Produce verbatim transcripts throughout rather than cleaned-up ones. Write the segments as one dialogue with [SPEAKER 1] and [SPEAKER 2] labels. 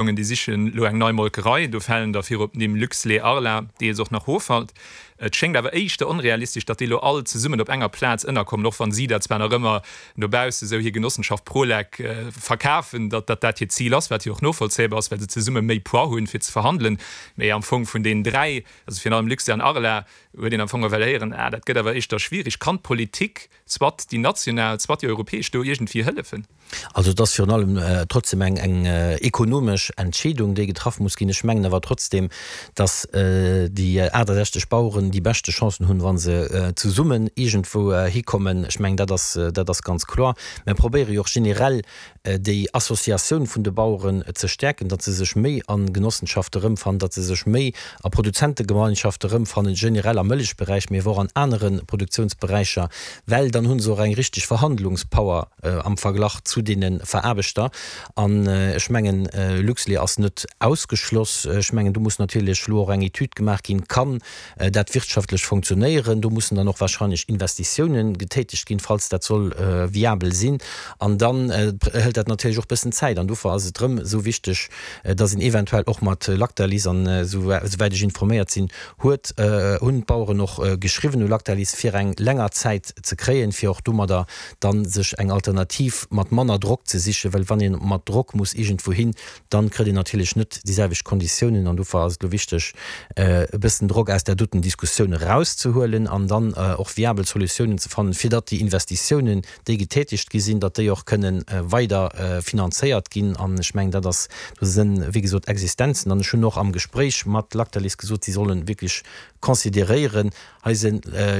[SPEAKER 1] Déi sichen elo eng nei Molkerei, do falen der virop d'Nimm Luxlait, Arla, deels och nach Hofalt. Et schéngt awer éischter onrealistesch, datt déi elo all zesummen op enger Plaz ënnerkommen, och wann si dat zwar nach ëmmer no bausse sou hir Genossenschaft Prolec verkafen, datt dat dat hiert Zil ass, wat jo och novollzéibar ass, well se zesumme méi Poids hunn, fir ze verhandelen. Mee am Fong vun deenen dräi, also virun allem Luxlait an Arla, huet een am Fong ewell héieren, ah, dat gëtt awer éischter schwierig. Kann d'Politik, soit déi national, soit déi europäesch, do iergendwéi hëllefen?
[SPEAKER 2] Also et ass virun allem trotzdem eng eng ekonomesch Entscheedung, déi getraff muss ginn. Ech mengen awer trotzdem, datt déi aachtasechzeg Baueren déi beschte Chancen hunn, wa se zesummen iergendwou hikommen. Ech mengen, dat ass dat ass ganz kloer. Mir probéiere jo och generell déi Associatioun vun de Baueren ze stäerken, datt se sech méi a Genossenschafte erëmfannen, datt se sech méi a Produzentegemeinschafte erëmfannen, generell am Mëllechberäich, mee awer och an anere Produktionsberäicher, well dann hu se och eng richteg Verhandlungspower am Verglach zu deene Veraarbechter. An ech mengen, Luxlait ass net ausgeschloss. Ech mengen, do muss natierlech elo och eng Etüd gemaach ginn, Kann dat wirtschaftlech funktionéieren? Do mussen dann och wahrscheinlech Investitiounen getätegt ginn, falls dat soll viabel sinn. An dann hëlt dat natierlech och e bëssen Zäit. An dofir ass et erëm esou wichteg, dass een eventuell och mat Lactalis, an esouwäit ech informéiert sinn, huet, hunn d'Baueren och geschriwwen u Lactalis, fir eng länger Zäit ze kréien, fir och domadder dann sech eng Alternativ mat manner Drock ze sichen, well wann ee mat Drock muss iergendwou hin, dann kritt een natierlech net déi selwecht Konditiounen. An dofir ass et elo wichteg, e bëssen Drock aus där doten Diskussioun erauszehuelen an dann och viabel Solutiounen ze fannen, fir datt déi Investitiounen, déi getätigt gi sinn, datt déi och kënnen weider finanzéiert ginn. An ech mengen, dat ass, do sinn, wéi gesot, Existenzen. An ech hunn och am Gespréich mat Lactalis gesot, si solle wierklech consideréieren, hei si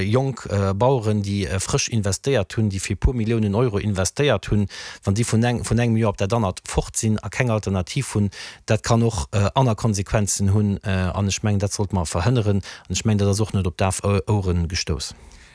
[SPEAKER 2] jonk Baueren, déi frësch investéiert hunn, déi fir e puer Milliounen Euro investéiert hunn, wann déi vun engem Joer op dat anert fort sinn a keng Alternativ hunn, dat kann och aner Konsequenzen hunn. An ech mengen, dat sollte mer verhënneren. An ech mengen, dat ass och net op daf Ouere gestouss.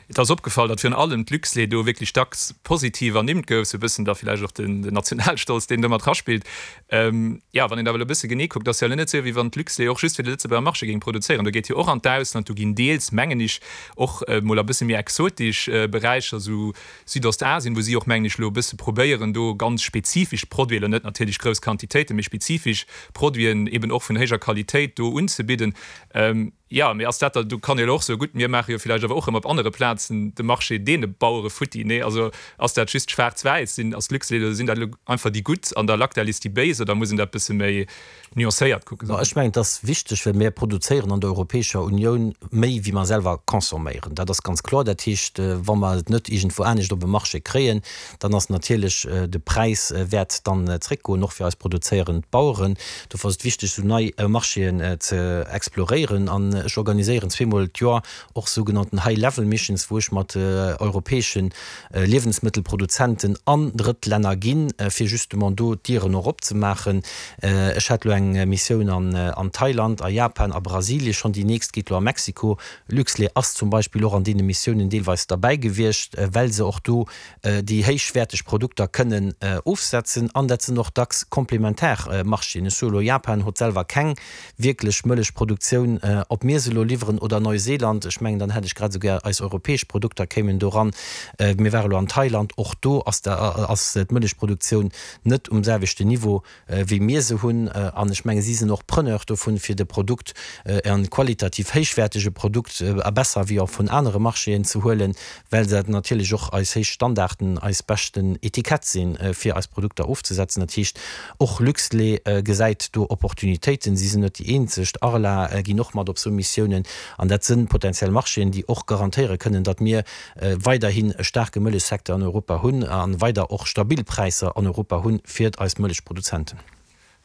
[SPEAKER 1] Et ass opgefall, datt virun allem d'Luxlait do wierklech dacks positiv ernimmt gouf, sou e bëssen da villäicht och den Nationalstolz, deen do mat raspillt. Jo, wann een awer elo e bësse genee kuckt, ass jo elo net sou, wéi wann d'Luxlait och just fir de Lëtzebuerger Marché géing produzéieren. Do geet jo och an d'Ausland, do ginn deels, mengen ech, och mol a bësse méi exotesch Beräicher, sou Südostasien, wou si och, mengen ech, elo e bësse probéieren, do ganz spezifesch Produiten, elo net natierlech grouss Quantitéiten, mee spezifesch Produiten eben och vun héijer Qualitéit do unzebidden. Jo, mee ass dat da, do kann ee jo och soen, gutt, mir maache jo villäicht awer och erëm op anere Plazen de Marché deene Bauere futti. Nee, also ass dat just schwaarz-wäiss? Sinn, ass Luxlait oder sinn dat elo einfach déi Gutt an der Lactalis déi Béis oder muss een dat bësse méi nuancéiert kucken?
[SPEAKER 2] Ech mengen, et ass wichteg, well mir produzéieren an der Europäescher Unioun méi wéi mer selwer consomméieren. Dat ass ganz kloer. Dat heescht, wa mer et net iergendwou anescht op e Marché kréien, dann ass natierlech de Präis wäert dann zréckgoen, och fir eis produzéierend Baueren. Dofir ass et wichteg, esou nei Marchéen ze exploréieren. An ech organiséieren zweemol d'Joer och sougenannten High Level Missions, wou ech mat europäesche Liewensmëttelproduzenten an Drëttlänner ginn, fir justement do d'Dieren och opzemaachen. Ech hat elo eng Missioun an Thailand, a Japan, a Brasilie schonn, déi nächst geet elo a Mexiko. Luxlait ass zum Beispill och an deene Missiounen deelweis derbäi gewiescht, well se och do déi héichwäerteg Produkter kënnen ofsetzen. An dat sinn och dacks komplementar Marchéen. Ech soe elo, Japan huet selwer keng wierklech Mëllechproduktioun. Ob mir se elo liwweren oder Neuseeland, ech mengen, dann hätt ech grad esou gär eis europäesch Produkter kéimen do ran. Mir ware elo an Thailand, och do ass d'Mëllechproduktioun net um selwechten Niveau, wéi mir se hunn. An ech menge si sinn och Preneur dovun, fir de Produkt, e qualitativ héichwäertege Produkt, a besser wéi och vun anere Marchéen ze huelen, well dat natierlech och eis héich Standarden, eis beschten Etikett sinn, fir eis Produkter ofzesetzen. Dat heescht, och Luxlait gesäit do Opportunitéiten. Si sinn net déi eenzeg, d'Arla ginn och mat op esou Missiounen. An dat sinn potenziell Marchéen, déi och garantéiere kënnen, datt mir weiderhin e staarke Mëllechsecteur an Europa hunn a weider och stabil Präisser an Europa hunn fir eis Mëllechproduzenten.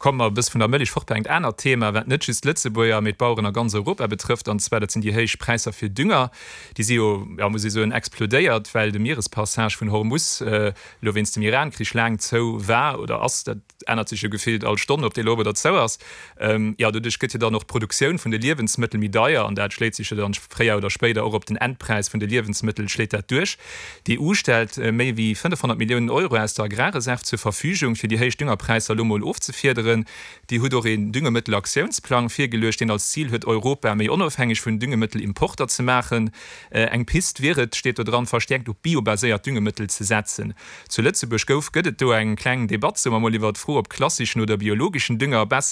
[SPEAKER 1] Komme mer e bësse vun der Mëllech fort bei engt anert Thema, wat net just d'Lëtzebuerger, mee d'Baueren a ganz Europa betrëfft, an zwar dat sinn déi héich Präisser fir Dünger. Déi si jo, ja muss ee soen, explodéiert, well de Mierespassage vun Hormus elo wéinst dem Iran-Krich laang zou war oder ass. Dat ännert sech jo gefillt all Stonn, ob dee elo op oder zou ass. Jo, doduerch gëtt jo dann och d'Produktioun vun de Liewensmëttel méi deier an dat schléit sech jo dann fréier oder spéider och op den Endpräis vun de Liewensmëttel schléit dat duerch. D'E U stellt méi wéi fënnefhonnert Milliounen Euro aus der Agrarreserv zur Verfügung, fir déi héich Düngerpräisser elo mol ofzefiederen. Déi huet och een Düngemëttelaktiounsplang virgeluecht, deen als Zil huet, Europa méi onofhängeg vun Düngemëttelimporter ze maachen. Eng Pist wier et, steet do dran, verstäerkt op biobaséiert Düngemëttel ze setzen. Zu Lëtzebuerg gouf, gëtt et do eng kleng Debatt, soe mer mol, iwwer d'Fro, ob klasseschen oder biologeschen Dünger besser